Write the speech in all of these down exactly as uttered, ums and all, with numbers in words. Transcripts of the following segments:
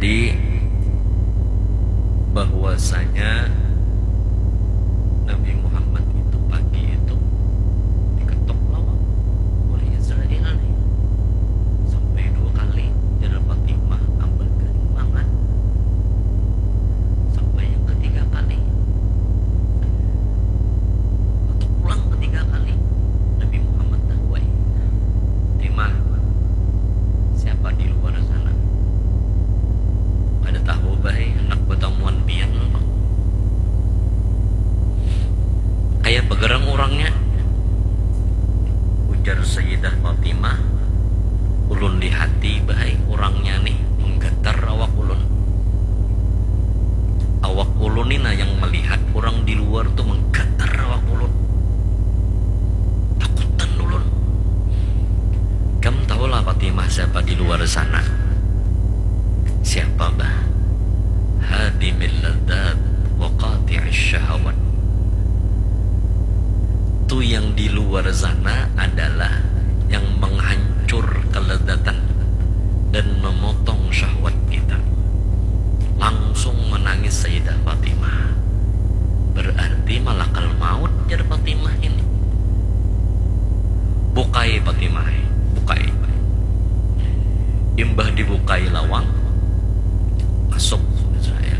Jadi, bahwasanya Nabi Muhammad itu pagi itu diketok lawang oleh Israel nih, sampai dua kali, jar Fatimah, ambakan mangan, sampai yang ketiga kali ketok pulang ketiga kali. Nabi Muhammad dah, wai, Fatimah, siapa di luar sana? Kada tahu bah ai, handak batamuan pian pang. Kaya pagarang urangnya, ujar Sayyidah Fatimah. Ulun lihati bah ai urangnya nih, manggatar awak ulun. Awak ulun ni nah yang malihat urang di luar tu, manggatar awak ulun. Takutan ulun. Kam tahulah Fatimah siapa di luar sana? Siapa bah? Hadimil ladzat wa qati'is syahawat. Tu yang di luar sana adalah yang menghancur kelezatan dan memotong syahwat kita. Langsung menangis Sayyidah Fatimah. Berarti malakal maut, jar Fatimah ini. Bukai Fatimah, bukai. Imbah dibukai lawang, masuk Israel.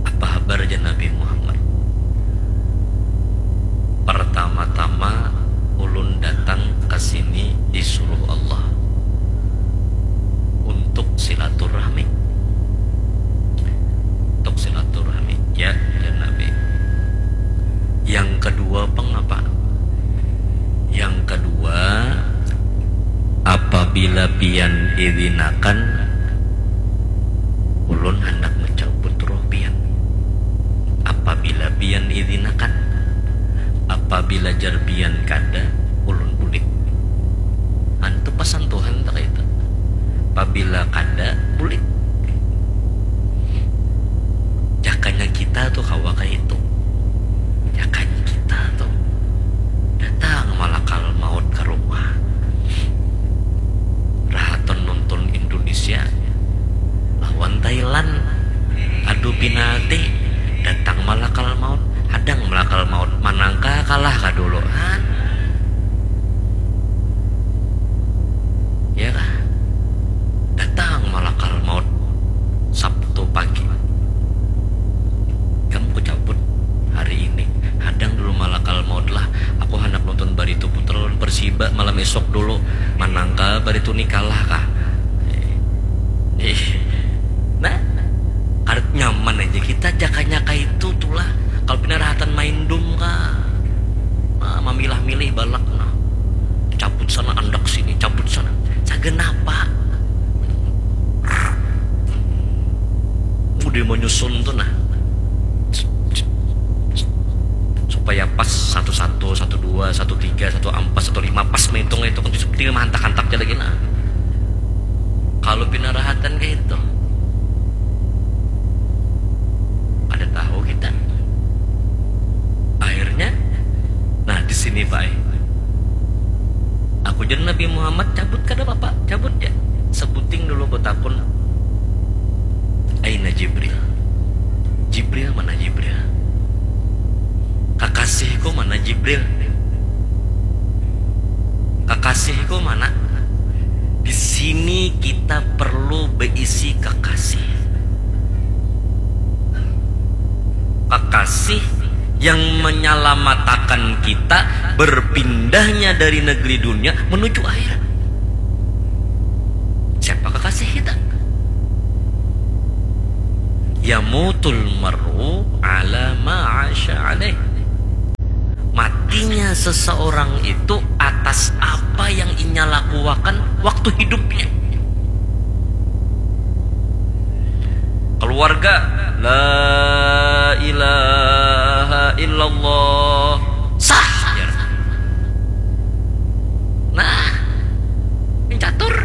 Apa habar, jar Nabi Muhammad? Pertama-tama ulun datang ke sini disuruh Allah untuk silaturahmi. Untuk silaturahmi, ya, jar Nabi. Yang kedua pang apa? Yang kedua, apabila pian izinakan, ulun handak mencabut roh pian. Apabila pian izinakan, apabila jar pian kada, ulun bulik. Antu pasan Tuhan tak itu. Apabila kada, bulik. Jakanya kita tuh kawa kayak itu. Jakanya kita tuh datang malakal maut ke rumah. Rahaton nonton Indonesia lawan Thailand, adu penalti, datang malakal maut, hadang malakal maut, manangka kalah kah dulu, ha? Ya kah? Datang malakal maut Sabtu pagi. Kam ku cabut hari ini. Hadang dulu malakal maut lah. Aku handak nonton Barito Putra lawan Persiba malam esok dulu. Manangka Barito ni kalah kah? Eh, eh. Nah, karet nyaman aja kita jakanya kaitu tulah. Kalau pina rahatan main dum kah? Nah, mamilah-milih balak nah. Cabut sana andak sini, cabut sana. Sagan apa? Udah menyusun tuh nah. Supaya pas satu satu, satu dua, satu tiga, satu empat, satu lima, pas menghitung itu kan seperti mah hantak-hantak aja lagi nah. Kalau pina rahatan kayak itu, kada tahu kita. Akhirnya, nah, di sini, Pak, eh. Aku jar Nabi Muhammad, cabut kada apa-apa, cabut ya. Sebuting dulu betakun, "Aina Jibril? Jibril mana Jibril? Kakasihku mana Jibril? Kakasihku mana?" Di sini kita perlu berisi kekasih. Kekasih yang menyelamatakan kita berpindahnya dari negeri dunia menuju akhirat. Siapa kekasih kita? Yamutul mar'u ala ma asya alaih. Matinya seseorang itu atas apa yang inya lakuakan waktu hidupnya. Keluarga, la ilaha illallah, sah, jar. Nah, yang catur.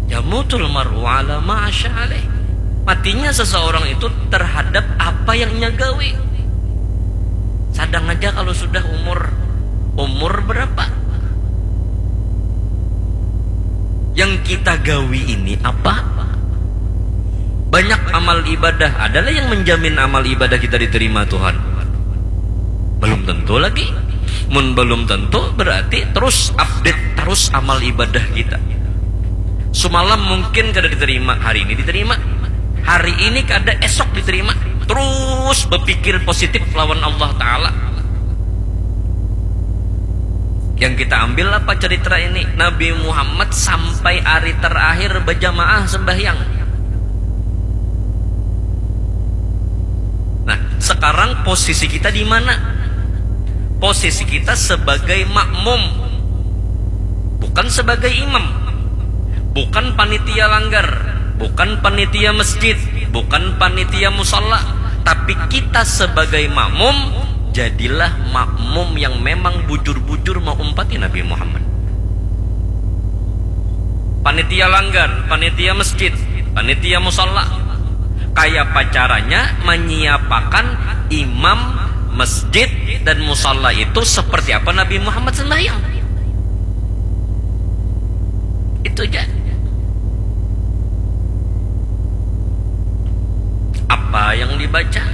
Yamutul mar'u ala ma asya alaih. Matinya seseorang itu terhadap apa yang inya gawe. Sadang aja kalau sudah umur, umur berapa? Yang kita gawi ini apa? Banyak amal ibadah, adalah yang menjamin amal ibadah kita diterima Tuhan? Belum tentu lagi. Mun belum tentu, berarti terus update terus amal ibadah kita. Sumalam mungkin kada diterima, hari ini diterima. Hari ini kada, esok diterima. Terus berpikir positif lawan Allah Ta'ala. Yang kita ambil apa cerita ini? Nabi Muhammad sampai hari terakhir berjamaah sembahyang. Nah, sekarang posisi kita di mana? Posisi kita sebagai makmum, bukan sebagai imam, bukan panitia langgar, bukan panitia masjid, bukan panitia musala, tapi kita sebagai makmum, jadilah makmum yang memang bujur-bujur maumpati Nabi Muhammad. Panitia langgar, panitia masjid, panitia musala, kaya apa caranya menyiapakan imam masjid dan musala itu seperti apa Nabi Muhammad sembahyang. Itu aja. Apa yang dibaca,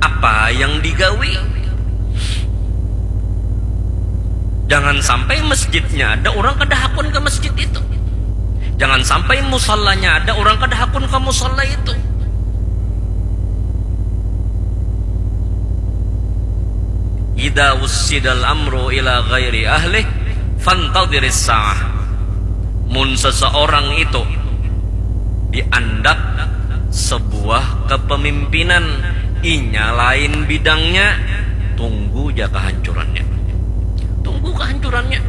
apa yang digawi. Jangan sampai masjidnya ada, orang kada hakun ke masjid itu. Jangan sampai musallanya ada, orang kada hakun ke musalla itu. Idza wussidal amru ila ghairi ahlih, fantadhiris sa'ah. Mun seseorang itu diandak sebuah kepemimpinan, inya lain bidangnya, tunggu ja kehancurannya. Tunggu kehancurannya.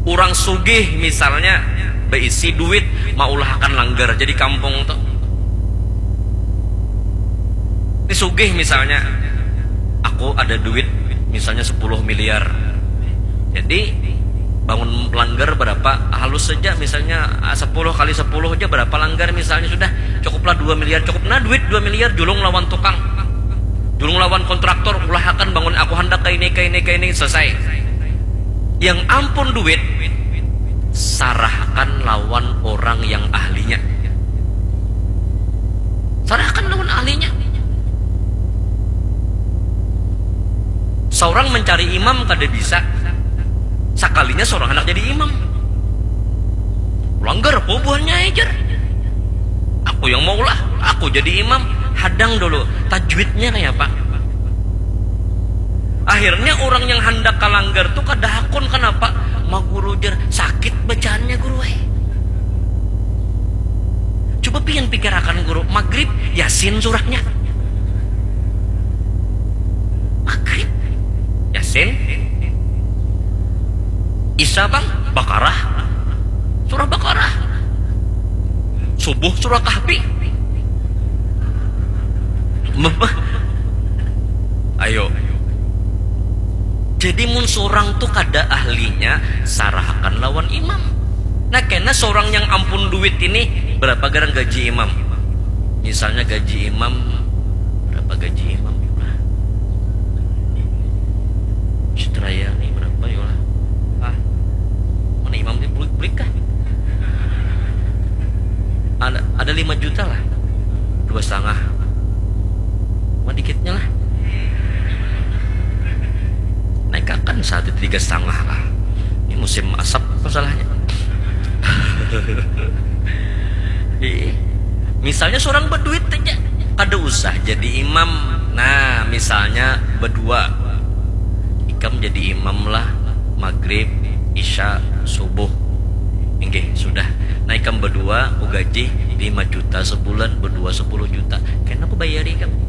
Orang sugih misalnya, beisi duit, maulahakan langgar jadi kampung tuh. Ini sugih misalnya, aku ada duit misalnya sepuluh miliar. Jadi bangun langgar berapa, halus saja misalnya, ah, sepuluh kali sepuluh aja berapa langgar misalnya, sudah cukuplah dua miliar, cukup. Nah, duit dua miliar, julung lawan tukang, julung lawan kontraktor, ulahakan bangun, aku handak kaini, kaini, kaini, selesai. Yang ampun duit, sarahkan lawan orang yang ahlinya. Sarahkan lawan ahlinya. Seorang mencari imam kada bisa, sakalinya seorang anak jadi imam. Langgar apa buhannya, ejar. Aku yang maulah, aku jadi imam. Hadang dulu, tajwidnya kayak apa? Akhirnya orang yang handak kalanggar tu kada hakun, kenapa? Ma guru, jar, sakit bacaannya, guru ai. Coba pian pikirakan, guru, magrib, Yasin surahnya. Magrib, Yasin. Isa, bang, Bakarah. Surah Bakarah. Subuh, surah Kahfi. Ayo. Jadi mun surang tu kada ahlinya, sarahakan lawan imam. Nah, kena surang yang ampun duit ini, berapa garang gaji imam? Misalnya gaji imam, berapa gaji imam? Citraya ni berapa, yolah? Ah, mana imam ni, bulik, bulik kah? Ada, ada lima juta lah. Dua setengah. Mah dikitnya lah. Naikakan saat itu tiga setengah lah. Ini musim asap masalahnya. Ih, misalnya seorang berduit aja, kada usah jadi imam. Nah, misalnya berdua, ikam jadi imam lah, maghrib, isya, subuh. Inggih, sudah. Nah, ikam berdua, ku gaji lima juta sebulan, berdua sepuluh juta. Kena ku bayari ikam.